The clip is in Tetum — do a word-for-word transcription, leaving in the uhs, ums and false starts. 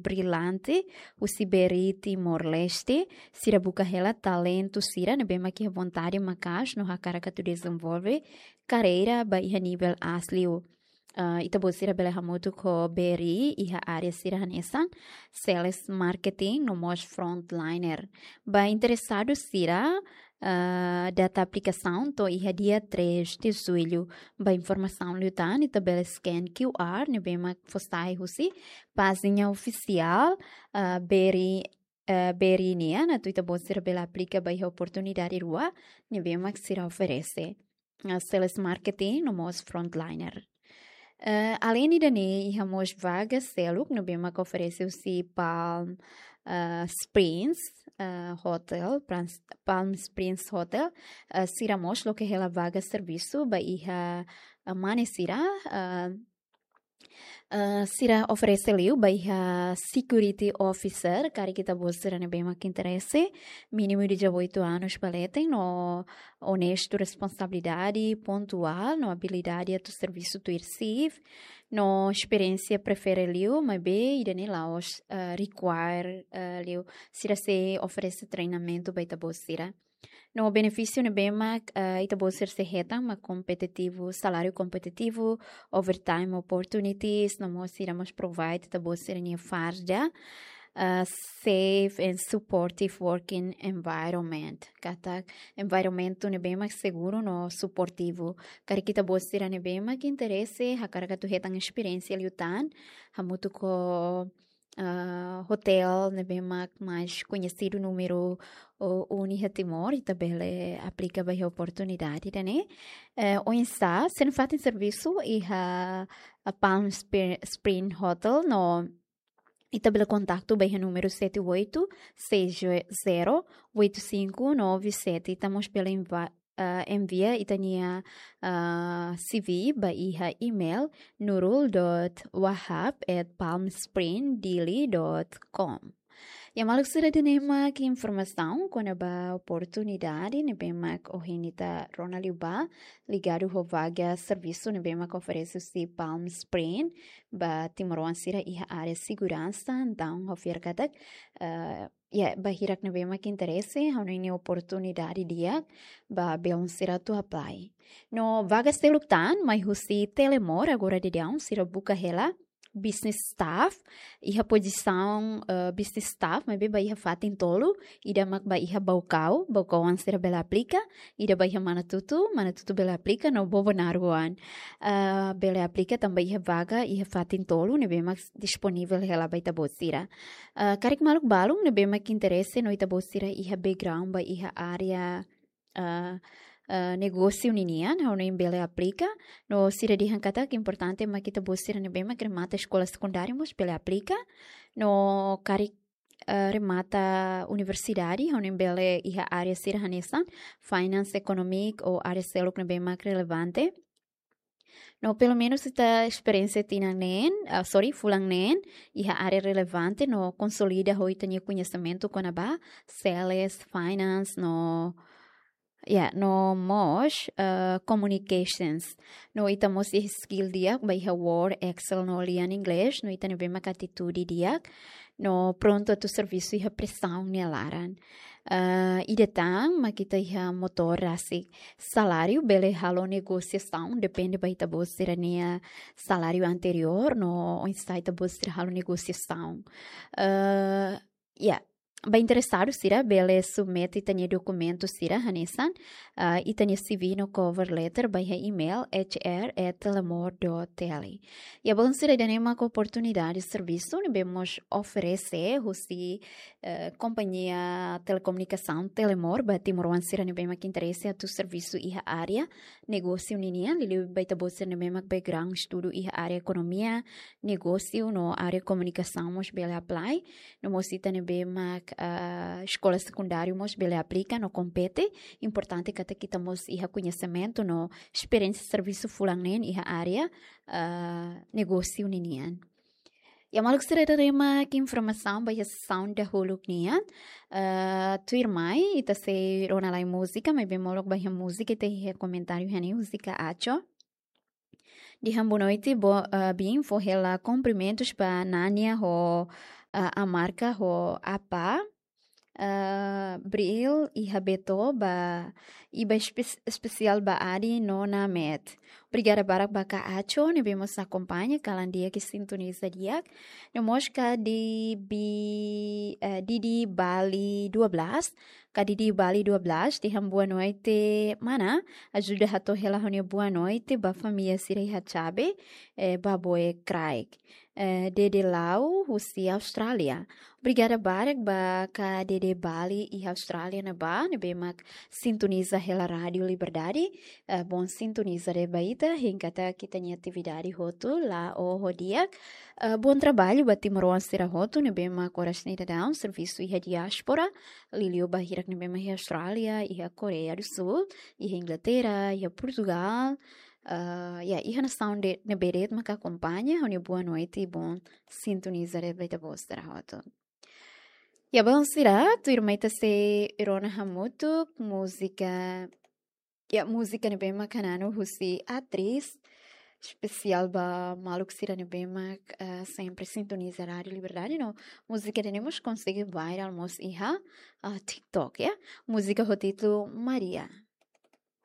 brilante husi B R I Timor-Leste, sira buka hela talentu sira ne'ebé mak iha vontade maka'as no hakarak atu dezenvolve karreira ba iha nivel aas liu. Ah, ita-boot sira bele hamutuk ho B R I iha área sira hanesan sales, marketing no mós frontliner. Ba interesadu sira, ah, data aplikasaun to'o iha dia três de julho. Ba informasaun liután, ita bele scan Q R ne'ebé mak fó sai husi pájina ofisiál, ah, B R I, ah, B R I nian, atu ita-boot sira bele aplika ba iha oportunidade rua ne'ebé mak sira oferese. Ah, sales, marketing no mós frontliner. Eh, além ida-ne'e, iha mós vaga seluk ne'ebé mak oferese husi Palm, eh, Springs, eh, Hotel, Prans-, Palm Springs Hotel, eh, sira mós loke hela vaga servisu ba iha, eh, mane sira, eh, eh, sira oferese liu ba iha security officer, karik ita-boot sira ne'ebé mak interese, mínimu dezoito anos ba leten, no onestu, responsabilidade, pontuál, no abilidade atu servisu tuir shift, no esperiénsia prefere liu, maibé ida-ne'e la'ós, eh, require, eh, liu, sira sei oferese treinamentu ba ita-boot sira. No benefísiu ne'ebé mak, eh, ita-boot sira sei hetan mak kompetitivu, saláriu kompetitivu, overtime opportunities, no mós sira mós provide ita-boot sira-nia farda, ah, safe and supportive working environment. Katak environmentu ne'ebé mak seguru no suportivu. Karik ita-boot sira ne'ebé mak interese, hakarak atu hetan esperiénsia liután, hamutuk ho, ah, hotel ne'ebé mak mais koñesidu númeru, o, unu iha Timor, ita bele aplika ba iha oportunidade ida-ne'e. Eh, oinsá, sira-nia fatin servisu iha, ah, Palm Spri-, Spring Hotel, no ita bele kontaktu ba iha númeru sete oito seis zero oito cinco nove sete. Ita mós bele enva-, ah, envia ita-nia, ah, C V ba iha email nurul dot wahab at palmspringdili dot com. Ya, maluk sira, ida-ne'e mak informasaun kona-ba oportunidade ne'ebé mak ohin ita rona liu ba, ligadu ho vaga servisu ne'ebé mak oferese husi Palm Spring ba timoroan sira iha área seguransa. Entaun, ha'u fiar katak, eh, ya, ba hirak ne'ebé mak interese, ha'u hanoin ne'e oportunidade di'ak ba belun sira atu apply. No vaga seluk tan mai husi Telemor, agora daudaun sira buka hela business staff, iha pozisaun, eh, business staff, maibé ba iha fatin tolu, ida mak ba iha Baucau, Baucauan sira bele aplika, ida ba iha Manatutu, Manatutu bele aplika, no Bobonaro oan, eh, bele aplika, tanba iha vaga iha fatin tolu ne'ebé mak disponivel hela ba ita-boot sira. Eh, karik maluk balun ne'ebé mak interese no ita-boot sira iha background ba iha área, ah, ah, negósiu ninian, ha'u hanoin bele aplika. No sira dehan katak importante mak ita-boot sira ne'ebé mak remata eskola sekundária mós bele aplika. No karik, ah, remata universidade, ha'u hanoin bele iha área sira hanesan finance, economic ou área seluk ne'ebé mak relevante. No pelumenus ita esperiénsia tinan neen, ah, sorry, fulan neen, iha área relevante no konsolida ho ita-nia koñesimentu kona-ba sales, finance, no, ya, no mós, eh, communications. No ita mós iha skill di'ak ba iha Word, Excel no lian Inglés, no ita ne'ebé mak atitude di'ak, no prontu atu servisu iha presaun nia laran. Ah, ida tan mak ita iha motór rasik. Saláriu bele halo negosiasaun, depende ba ita-boot sira-nia saláriu anteriór, no oinsá ita-boot sira halo negosiasaun. Ah, ya, ba interesadu sira bele submete ita-nia dokumentu sira hanesan, ah, ita-nia C V no cover letter ba iha email H R at telemor dot T L. Ya, belun sira, ida-ne'e mak oportunidade servisu ne'ebé mós oferese husi, eh, kompañia telekomunikasaun Telemor ba timoroan sira ne'ebé mak interese atu servisu iha área negósiu ninian, liuliu ba ita-boot sira ne'ebé mak background estudu iha área ekonomia, negósiu no área komunikasaun mós bele apply. No mós ita ne'ebé mak, ah, eskola sekundáriu mós bele aplika no kompete. Importante katak ita mós iha koñesimentu no esperiénsia servisu fulan neen iha área, ah, negósiu ninian. Ya, maluk sira, ida-ne'e mak informasaun ba iha sesaun dahuluk nian. Ah, tuirmai ita sei rona lai múzika, maibé molok ba iha múzika ita iha komentáriu hanesan múzika Acho. Dehan boa noite, bo-, ah, biin, fó hela kumprimentus ba Nania ho ah, Amarka ho Apa, ah, Bril iha Beto ba, i ba espe-, espesiál ba Adi no Namet. Obrigada barak ba Ka Acho ne'ebé mós akompaña kalan di'ak i sintoniza di'ak. No mós Ka Didi, eh, Didi Bali dua belas, Ka Didi Bali dua belas, dehan boa noite mana, ajuda hato'o hela ha'u-nia boa noite ba família sira iha Chabe, eh, ba Boe Kraik. Eh, Dede Lau husi Austrália. Obrigada barak ba Ka Dede Bali iha Austrália ne'ebá, ne'ebé mak sintoniza hela Rádiu Liberdade. Eh, bom sintoniza de'it ba ita, hein katak ita-nia atividade hotu la'o ho di'ak. Eh, bom trabalho ba timoroan sira hotu ne'ebé mak oras ne'e daudaun servisu iha diáspora, liuliu ba hirak ne'ebé mak iha Austrália, iha Koreia do Sul, iha Inglaterra, iha Portugal, ah, ya, iha nasaun de, ne'ebé de'it maka akompaña, ha'u-nia boa noite i bom sintoniza de'it ba ita-boot sira hotu. Ya, bom sira, tuirmai ita sei rona hamutuk múzika, ya, múzika ne'ebé mak hananu husi Atris, espesiál ba maluk sira ne'ebé mak, ah, sempre sintoniza Rádiu Liberdade, no múzika ne'e mós konsege viral mós iha, ah, TikTok, ya. Múzika ho títulu Maria.